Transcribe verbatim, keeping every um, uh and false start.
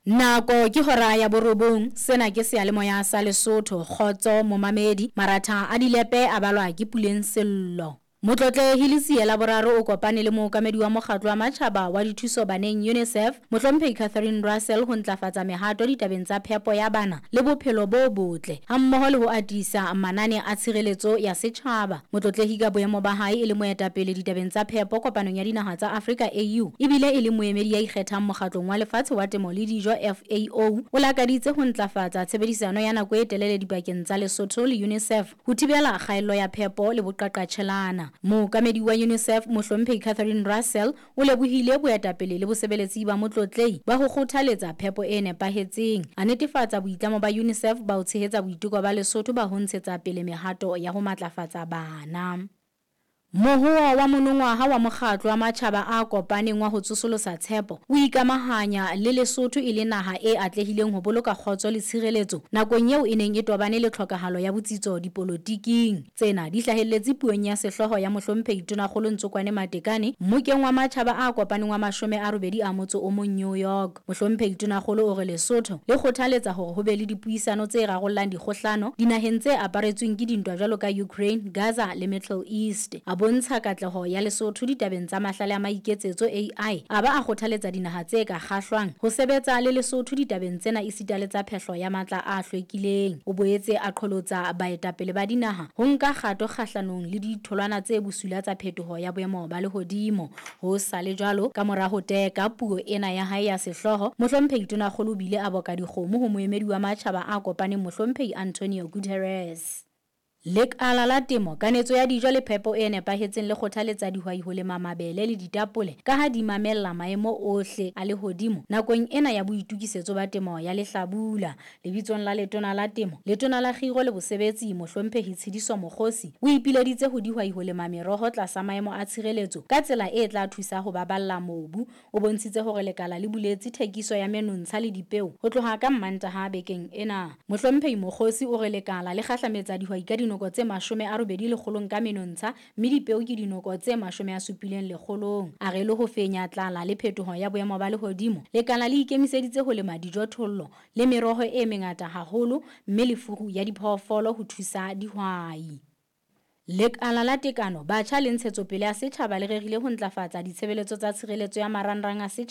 Nako ke hora ya borobong, sena ke seyalemoya sa Lesotho, kgotso momamedi, maratha a dilepe a balwa ke Puleng Sello. Motlotlehi Letsie la boraro o kopane le mookamedi wa mokgatlo wa matjhaba wa dithuso baneng UNICEF, Mohlomphehi Catherine Russell ho ntlafatsa mehato ditabeng tsa phepo ya bana le bophelo bo botle hammoho le ho atisa manane a tshireletso ya setjhaba. Motlotlehi ka boemo ba hae e le moetapele ditabeng tsa phepo kopanong ya dinaha tsa Afrika A U ebile e le moemedi ya ikgethang mokgatlong wa lefatshe wa temo le dijo F A O, o lakaditse ho ntlafatsa tshebedisano ya nako e telele dipakeng tsa Lesotho le UNICEF ho thibela kgaello ya phepo le boqaqatjhelana. Mookamedi wa UNICEF Mohlomphehi Catherine Russell o lebohile boetapele le bosebeletsi ba motlotlehi ba ho kgothaletsa phepo e nepahetseng, a netefatsa boitlamo ba UNICEF ba ho tshehetsa boiteko ba Lesotho ba ho ntshetsa pele mehato ya ho matlafatsa bana. Mohoa wa monongwaha wa mokgatlo wa matjhaba a kopaneng wa ho tsosolosa tshepo o ikamahanya le Lesotho e le naha e atlehileng ho boloka kgotso le tshireletso nakong eo e neng e tobane le tlhokahalo ya botsitso dipolotiking. Tsena di hlahelletse puong ya sehlooho ya Mohlomphehi Tonakgolo Ntsokoane Matekane mmokeng wa matjhaba a kopaneng wa mashome a robedi a motso o mong New York. Mohlomphehi Tonakgolo o re Lesotho le kgothaletsa hore ho be le dipuisano tse rarollang dikgohlano dinaheng tse aparetsweng ke dintwa jwalo ka Ukraine, Gaza le Middle East. A bontsha katleho ya Lesotho ditabeng tsa mahlale a maiketsetso A I, a ba a kgothaletsa dinaha tse ka kgahlwang ho sebetsa le Lesotho ditabeng tsena esita le tsa phehlo ya matla a hlwekileng. O boetse a qholotsa baetapele ba dinaha ho nka kgato kgahlanong le ditholwana tse bosula tsa phetoho ya boemo ba lehodimo. Ho sa le jwalo, ka mora ho teka puo ena ya hae ya sehlooho, Mohlomphehi Tonakgolo o bile a boka dikgomo ho moemedi wa matjhaba a kopaneng Mohlomphehi Antonio Guterres. Lekala la temo, kanetso ya dijo le phepo e nepahetseng le kgothaletsa dihwai ho lema mabele le ditapole ka ha di mamella maemo ohle a lehodimo nakong ena ya boitokisetso ba temo ya lehlabula. Lebitsong la Letona la Temo, Letona la Kgiro le Bosebetsi Mohlomphehi Tshediso Mokgosi o ipileditse ho dihwai ho lema meroho tlasa maemo a tshireletso ka tsela e tla thusa ho baballa mobu. O bontshitse hore lekala le buletse thekiso ya menontsha le dipeo ho tloha ka Mmantaha bekeng ena. Mohlomphehi Mokgosi o re lekala le kgahlametsa dihwai ka dinoko tse mashome a robedi lekgolong ka menontsha mme dipeo ke dinoko tse mashome a supileng lekgolong. A re le ho fenya tlala le phetoho ya boemo ba lehodimo, lekala le ikemiseditse ho lema dijothollo le meroho e mengata haholo mme le furu ya diphoofolo ho thusa dihwai. Lekala la Tekano, Batjha le Ntshetsopele ya Setjhaba le rerile ho ntlafatsa ditshebeletso tsa tshireletso ya marangrang a setjhaba.